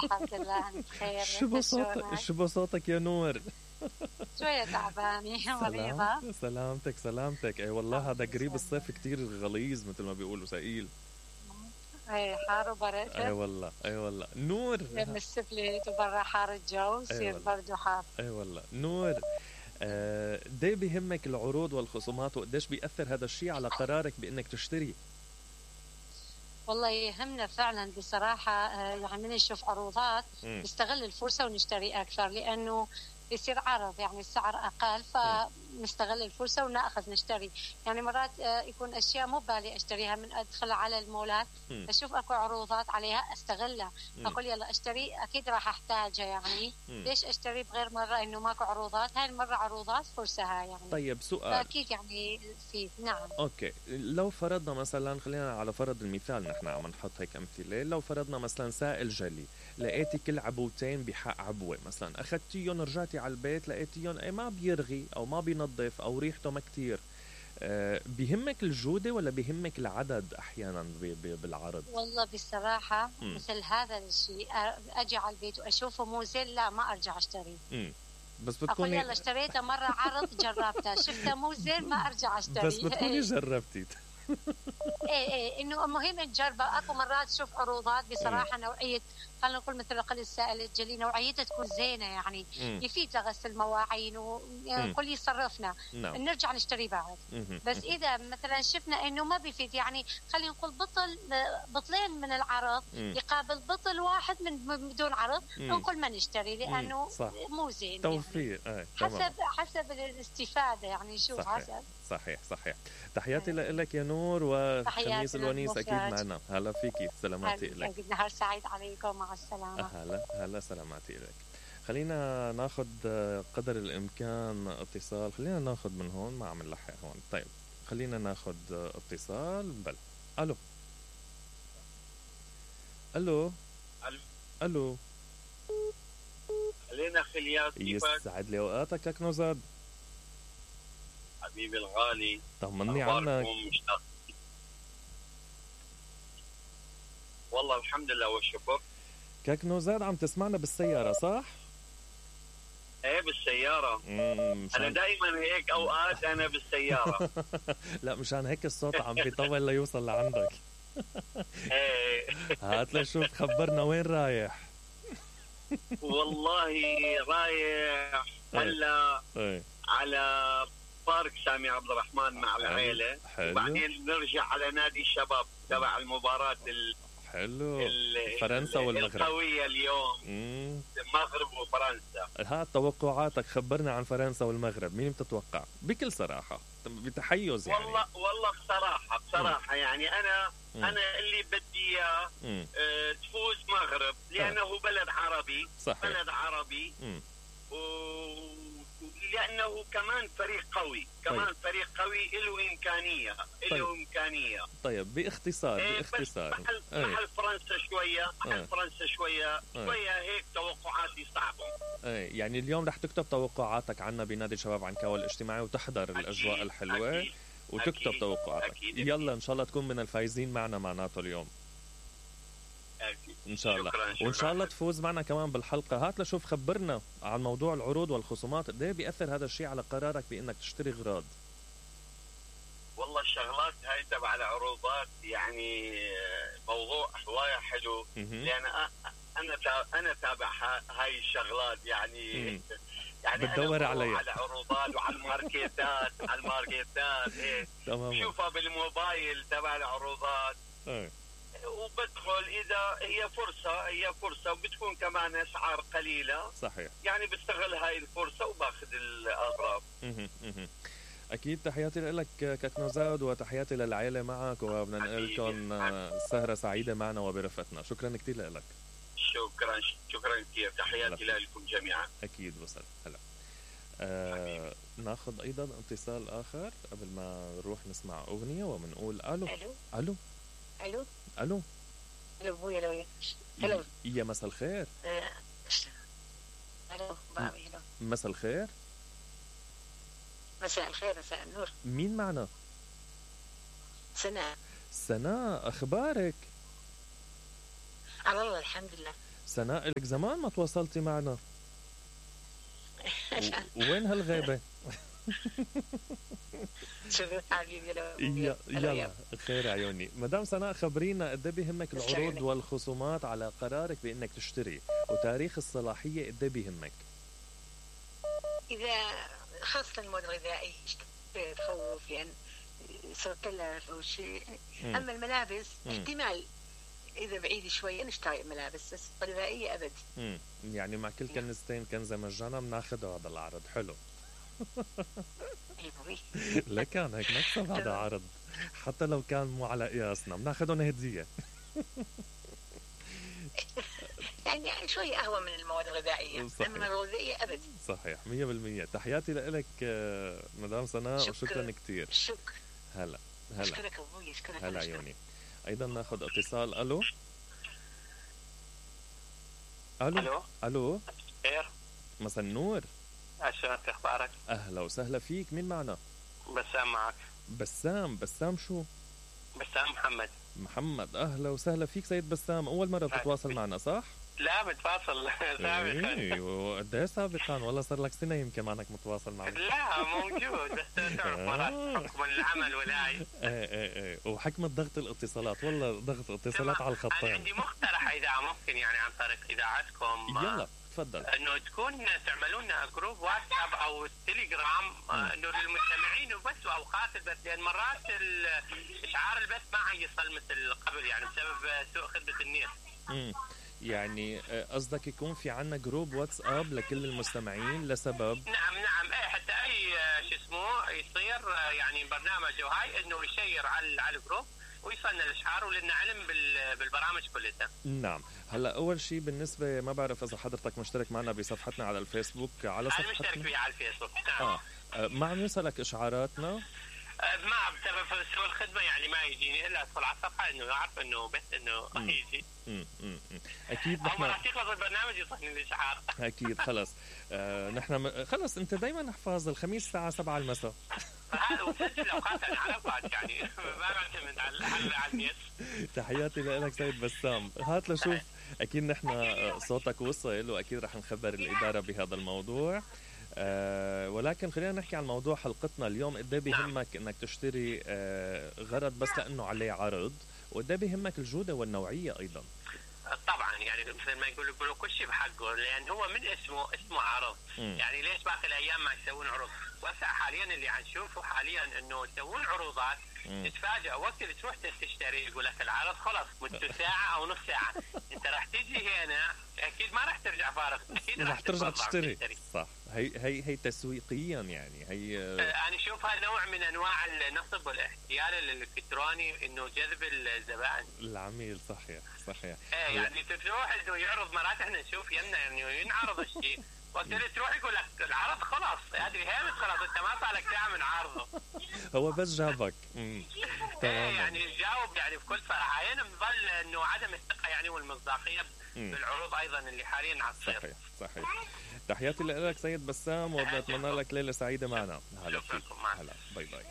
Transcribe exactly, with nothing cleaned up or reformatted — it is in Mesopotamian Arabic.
الحمد لله أنا بخير. شو بساطة شو بساطك يا نور. شوية تعبانة مريضة. سلامتك سلامتك. اي والله هذا قريب الصيف كتير غليظ مثل ما بيقولوا ثقيل. اي حار وبرد. اي والله اي والله نور. من السفلت وبرا حار الجو يصير برد وحار. اي والله نور. آه دي بيهمك العروض والخصومات وقديش بيأثر هذا الشيء على قرارك بانك تشتري؟ والله يهمنا فعلا بصراحة، يعني من نشوف عروضات نستغل الفرصة ونشتري أكثر، لأنه يصير عرض يعني السعر أقل فنستغل الفرصة ونأخذ نشتري. يعني مرات يكون أشياء مو بالي أشتريها، من أدخل على المولات أشوف أكو عروضات عليها أستغلها، أقول يلا أشتري أكيد راح أحتاجها. يعني مم. ليش أشتري بغير مرة إنه ماكو عروضات؟ هاي المرة عروضات فرصها يعني. طيب سؤال. أكيد يعني في نعم. أوكي لو فرضنا مثلا، خلينا على فرض المثال نحن عم نحط هيك أمثلة، لو فرضنا مثلا سائل جلي لقيتي كل عبوتين بحق عبوة مثلا، أخذتيهم رجعتي على البيت لقيتيهم أي ما بيرغي أو ما بينظف أو ريحته ما كتير، أه بيهمك الجودة ولا بيهمك العدد أحيانا بالعرض؟ والله بصراحة م. مثل هذا الشيء أجي على البيت وأشوفه مو زين لا ما أرجع أشتري. م. بس بتكوني أقول يلا اشتريته مرة عرض جربته شفته مو زين ما أرجع أشتري. بس بتكوني جربتي. ايه ايه انه مهم نجربه. اكو مرات تشوف عروضات بصراحه نوعيه، خلينا نقول مثل قل السائل الجلي نوعيتها تكون زينه يعني مم. يفيد لغسل المواعين وكل يصرفنا نعم. نرجع نشتري بعد. مم. بس اذا مثلا شفنا انه ما بيفيد، يعني خلينا نقول بطل بطلين من العرض مم. يقابل بطل واحد من بدون عرض، نقول ما نشتري لانه مو زين. توفير يعني. ايه. حسب حسب الاستفاده يعني شوف صحيح. حسب صحيح صحيح. تحياتي لك يا نور، وخميس الونيس اكيد معنا. هلا فيكي، سلاماتي لك. نهار سعيد عليكم، مع السلامه. هلا هلا سلاماتي لك. خلينا ناخذ قدر الامكان اتصال، خلينا ناخذ من هون، ما عم نلحق هون. طيب خلينا ناخذ اتصال. بل الو الو الو الو خلينا خليات. يسعد لي اوقاتك كاك نوزاد حبيبي الغالي، طمني عنك. والله الحمد لله والشكر. كاك نوزاد عم تسمعنا بالسيارة صح؟ ايه بالسيارة. انا دائما هيك اوقات انا بالسيارة. لا مشان هيك الصوت عم بيطول ليوصل لعندك. ايه هات لشوف، خبرنا وين رايح. والله رايح هلا على بارك سامي عبد الرحمن مع العائلة، وبعدين نرجع على نادي الشباب تبع المباراة ال حلو فرنسا والمغرب القوية اليوم. مم. المغرب وفرنسا. ها توقعاتك، خبرنا عن فرنسا والمغرب، مين بتتوقع بكل صراحة بتحيز يعني؟ والله والله بصراحة بصراحة مم. يعني أنا مم. أنا اللي بدي إياه اه تفوز مغرب، لأنه آه. بلد عربي. صحيح. بلد عربي مم. و... لأنه كمان فريق قوي، كمان طيب. فريق قوي له إمكانية له طيب. إمكانية. طيب باختصار إيه باختصار محل, محل فرنسا شوية محل أيه. فرنسا شوية شوية هيك توقعاتي صعبة. ايه يعني اليوم رح تكتب توقعاتك عنا بنادي الشباب عنكاوي الاجتماعي وتحضر أكيد. الأجواء الحلوة أكيد. وتكتب أكيد. توقعاتك أكيد. يلا إن شاء الله تكون من الفايزين معنا معناته اليوم أكيد. إن شاء الله. شكراً شكراً. وإن شاء الله تفوز معنا كمان بالحلقة. هات لشوف خبرنا عن موضوع العروض والخصومات، قد ايه بيأثر هذا الشيء على قرارك بإنك تشتري أغراض؟ والله الشغلات هاي تبع العروضات يعني موضوع هواية حلو، لأن أنا أنا تابع هاي الشغلات يعني. يعني بتدور عليها على عروضات وعلى الماركتات على الماركتات إيه شوفها بالموبايل تبع العروضات. ايه وبدخل إذا هي فرصة هي فرصة وبتكون كمان أسعار قليلة. صحيح. يعني بستغل هاي الفرصة وباخذ الأغراض. أكيد. تحياتي لك كاك نوزاد وتحياتي للعائلة معك، وبدنا نقول لكم سهرة سعيدة معنا وبرفتنا. شكرا كتير لك. شكرا شكرا كثير. تحياتي لكم جميعا. أكيد وصل. هلا آه ناخذ أيضا اتصال آخر قبل ما نروح نسمع أغنية وبنقول ألو ألو ألو ألو ألو ألو أبوي ألو ألو يا مساء الخير. ألو بابي ألو مساء الخير. مساء الخير مساء النور. مين معنا؟ سناء. سناء أخبارك؟ على الله الحمد لله. سناء لك زمان ما تواصلتي معنا. وين هالغيبة؟ شوفي حبيبي يلا يلا خير عيوني. مدام سناء خبرينا قد ايه بيهمك العروض والخصومات على قرارك بانك تشتري، وتاريخ الصلاحية قد ايه بيهمك؟ اذا خاصة المواد الغذائية تخوف يعني صار تلف او شيء. اما الملابس احتمال اذا بعيد شوي نشتري ملابس، بس الغذائية ابد. امم يعني مع كل كنزتين كنزة مجانا بناخذه هذا العرض. حلو. لكن هيك نكسب هذا عرض حتى لو كان مو على قياسنا بناخذهم هدية. يعني شوي أهون من المواد الغذائية. صحيح. أما الغذائية أبد. صحيح مية بالمية. تحياتي لك مدام سناء. شكرا. وشكرا كتير. شكرا. هلا هلا. أشكرك أبوي. أشكرك. هلا عيوني. أيضا ناخذ اتصال. ألو ألو ألو ألو خير. مساء النور. عشان اخبارك؟ اهلا وسهلا فيك. مين معنا؟ بسام معك. بسام. بسام شو؟ بسام محمد. محمد. اهلا وسهلا فيك سيد بسام. اول مره بتتواصل معنا صح؟ لا بتواصل سابقا. ايوه قد ايه سابقا؟ والله صار لك سنه يمكن ما انك متواصل معنا. لا موجود بس تعرف مرات حكم العمل ولاي. ايه ايه ايه وحكمة ضغط الاتصالات. والله ضغط اتصالات على الخطين. انا عندي مقترح اذا ممكن يعني عن طريق اذاعتكم. يلا تفضل. انه تكون تعملوا لنا جروب واتساب او تليجرام انه للمستمعين وبس واوقات البث، لان مرات اشعار البث ما يصل مثل قبل يعني بسبب سوء خدمه النت. امم يعني قصدك يكون في عنا جروب واتساب لكل المستمعين لسبب؟ نعم نعم ايه حتى اي شو اسمه يصير يعني برنامج وهاي انه يشير على على الجروب ويصلنا الاشعار ولنا علم بالبرامج كلها. نعم. هلا اول شيء بالنسبه ما بعرف اذا حضرتك مشترك معنا بصفحتنا على الفيسبوك. على صفحتنا انا مشترك فيها على الفيسبوك. نعم. اه ما عم يوصلك اشعاراتنا؟ ما بسبب سوء الخدمه يعني ما يجيني الا ادخل على الصفحه انه اعرف انه بس انه يجي. امم امم اكيد نحن راح يخلص البرنامج يوصلني الاشعار. اكيد خلص. آه نحن خلص انت دايما احفظ الخميس الساعه سبعة المساء. هذا وسجل اوقات انا على اوقات يعني ما بعتمد على على النت. تحياتي لك سيد بسام. هات لشوف اكيد نحن صوتك وصل واكيد رح نخبر الاداره بهذا الموضوع. أه ولكن خلينا نحكي عن موضوع حلقتنا اليوم. قد ايه بيهمك انك تشتري أه غرض بس لانه عليه عرض، وقد ايه بيهمك الجوده والنوعيه ايضا؟ طبعا يعني مثل ما يقولوا يقولوا كل شيء بحقه، لان هو من اسمه اسمه عرض. م. يعني ليش باقي الايام ما يسوون عروض؟ وهسه حاليا اللي عم نشوفه حاليا انه يسوون عروضات تتفاجئ وقت اللي تروح تشتري يقول لك العرض خلص مدته ساعه او نص ساعه. انت راح تيجي هنا اكيد ما راح ترجع فارغ، اكيد راح ترجع تشتري. تشتري صح. هي هي هي تسويقيا يعني هي انا اشوفها نوع من انواع النصب والاحتيال الالكتروني انه جذب الزبائن العميل. صحيح صحيح. ايه يعني تروح انه يعرض مرات احنا نشوف يمنا يعني ينعرض الشيء وقت اللي تروح يقول لك العرض خلاص هذه هامت خلاص انت ما صار لك ساعه من عرضه. هو بس جابك. تمام. يعني جاوب يعني بكل صراحه. هنا بظل انه عدم الثقه يعني والمصداقيه بالعروض ايضا اللي حاليا عم تصير. صحيح صحيح. تحياتي لك سيد بسام وبتمنى لك ليله سعيده معنا. هلا فيك. هلا باي باي.